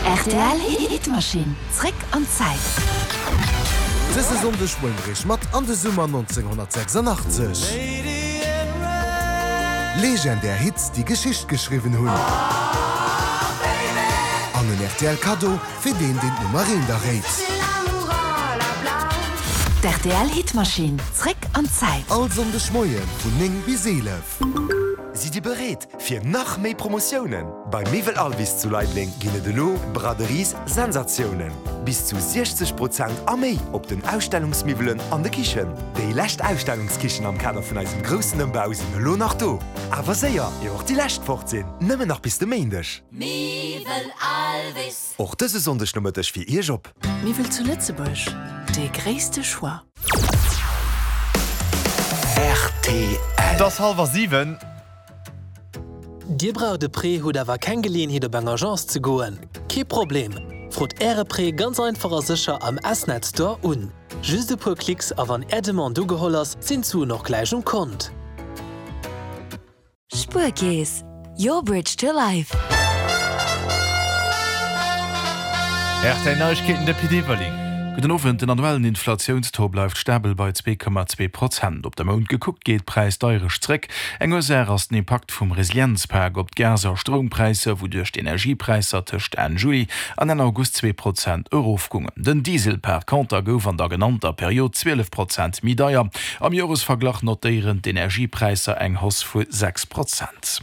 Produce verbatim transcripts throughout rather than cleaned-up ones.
Rtl Hitmaschinn, zréck an d'Zäit. Dëse Sonndeg huele mir iech mat an de Summer nonzénghonnertsechsandachtzeg. Legendär Hits, déi Geschicht geschriwwen hunn. An en R T L Kaddo fir deen, deen d'Nummer eent erréit. D' R T L Hitmaschinn, zréck an d'Zäit. All Sonndeg Moie vun néng bis eelef. Sidd Dir bereet fir nach méi Promotiounen? Bei Miwwel Alvis zu Leideleng ginn et elo Braderies Sensatiounen. Bis zu siechzeg Prozent a méi op den Ausstellungsmiwwelen an de Kichen. Déi lescht Ausstellungskichen am Kader vun eisem groussen Ëmbau sinn elo nach do. Awer séier, ier och déi lescht fort sinn. Nëmmen nach bis de Méindeg. Miwwel Alvis. Och dëse Sonndeg Nomëtteg fir Iech op. Miwwel zu Lëtzebuerg, de gréisste Choix. R T L. Et ass hallwer siwen. Dir braucht e Prêt, hutt awer keng Geleeënheet, op eng Agence ze goen? Kee Problem. Frot Äre Prêt ganz einfach a sécher am S-Net Store un. Just e puer Klicks a wann Är Demande ugeholl ass, sinn d'Suen och gläich um Kont. Spuerkeess, your bridge to life. R T L Neiegkeeten, de Pit Everling. Gudden Owend. Den annuellen Inflatiounstaux bleift stabel bei zwee Komma zwee Prozent. Op de Mount gekuckt geet d'Präisdeierecht zréck. Eng Ursaach ass den Impakt vum Resilienzpak op d'Gas a Stroumpräisser, wouduerch d'Energiepräisser tëscht Enn Juli an Enn August zwee Prozent erofgoungen. Den Diesel par konter gouf an der genannter Period zwielef Prozent méi deier. Am Joresverglach notéieren d'Energiepräisser eng Hausse vu sechs Prozent.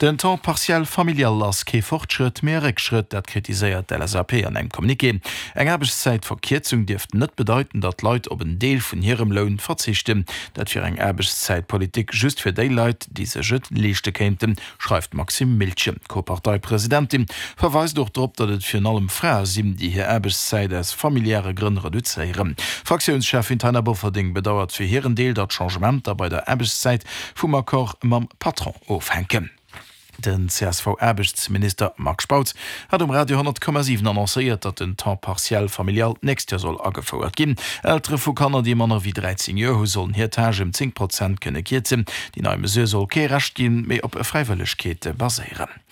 Den Temps partiel familial ass kee Fortschrëtt, mee e Réckschrëtt, dat kritiséiert d'L S A P an engem Communiqué. Eng Aarbechtszäitverkierzung dierft net bedeiten, datt d'Leit op en Deel vun hirem Loun verzichten. Dat wier eng Aarbechtszäitpolitik just fir déi Leit, déi sech et leeschte kéinten, schreift d'Maxime Miltgen. D'Co-Parteipresidentin verweist och drop, datt et virun allem Frae sinn, déi hir Aarbechtszäit aus familiäre Grënn reduzéieren. Fraktiounscheffin Taina Bofferding bedauert fir hiren Deel, datt Changementer bei der Aarbechtszäit vum Accord mam Patron ofhänken. Den C S V-Aarbechtsminister Marc Spautz hat um Radio honnert Komma siwen annoncéiert, datt den Temps partiel familial d'nächst Joer soll agefouert ginn. Eltere vu Kanner, déi manner wéi dräizéng Joer hu sollen hir Tâche ëm zéng Prozent kënne kierzen. Déi nei Mesure soll kee Recht ginn, mee op Fräiwëllegkeet baséieren.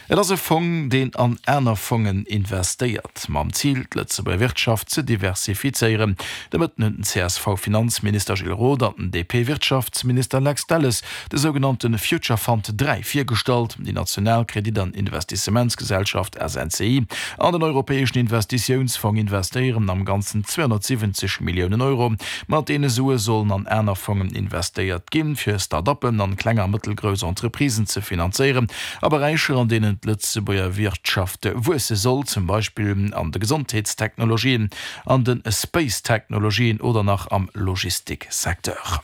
Et ass e Fong, deen an aner Fongen investéiert, mam Zil, d'Lëtzebuerger Wirtschaft ze diversifizéieren. De Mëtten hunn den C S V-Finanzminister Gilles Roth an den D P-Wirtschaftsminister Lex Delles de sougenannte Future Fund dräi virgestallt. Déi national Kredit an Investissementsgesellschaft S N C I an den Europäeschen Investitiounsfong investéieren am Ganzen zweehonnertsiwwenzeg Milliounen Euro. Mat deene Sue sollen an aner Fongen investéiert ginn, fir Start-uppen an kleng a mëttelgrouss Entreprisen ze finanzéieren a Beräicher, an deenen d'Lëtzebuerger Wirtschaft wuesse soll, zum Beispill an de Gesondheetstechnologien, an de Space-Technologien oder nach am Logistiksecteur.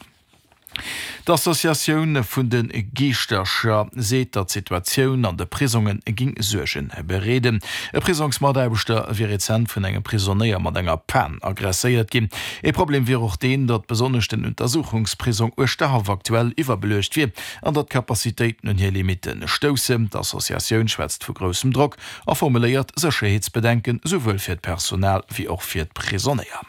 D'Associatioun vun de Giischtercher seet, datt d'Situatioun an de Prisonge géing Suerge bereeden. E Prisongsmataarbechter wier rezent vun engem Prisonéier mat enger Pan agresséiert ginn. E Problem wier och deen, datt besonnesch den Untersuchungsprisong Uerschterhaff aktuell iwwerbeluecht wier an datt d'Kapazitéiten un hir Limitte stoussen. D'Associatioun schwätzt vu groussem Drock a formuléiert Sécherheetsbedenken, souwuel fir d'Personal wéi och fir d'Prisonéier.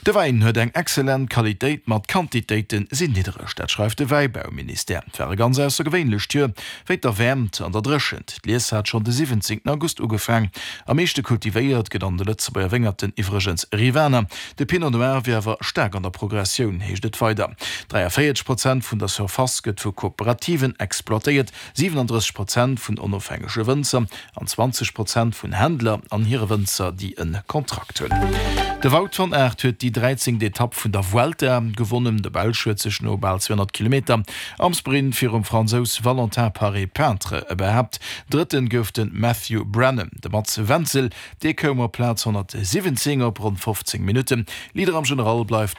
De Wäin huet eng excellent Qualitéit, ma d'Quantitéite sinn niddereg, dat schreift de Wäibauministère. Et war e ganz aussergewéinlecht Joer wéint der Wäermt an der Dréchent. D'Lies hat schonn de siwwenzéngten August ugefaangen. Am meeschte kultivéiert gëtt an de Lëtzebuerger Wéngerten iwwregens Rivaner. De Pinot Noir wier awer staark an der Progressioun, heescht et weider. dräiavéierzeg Prozent vun der Surface gëtt vu Kooperativen exploitéiert, siwenendrësseg Prozent vun onofhängege Wënzer an zwanzeg Prozent vun Händler an hire Wënzer, déi e Kontrakt hunn. De Wout van Aert huet déi dräizéngt Etapp vun der Vuelta gewonnen. De Belsch huet sech no bal zweehonnert Kilometer am Sprint virum Fransous Valentin Paret-Peintre behaapt. Drëtten gouf de Matthew Brennan. De Mats Wenzel, dee koum op Plaz honnertsiwwenzéng op ronn fofzéng Minutten. Leader am General bleift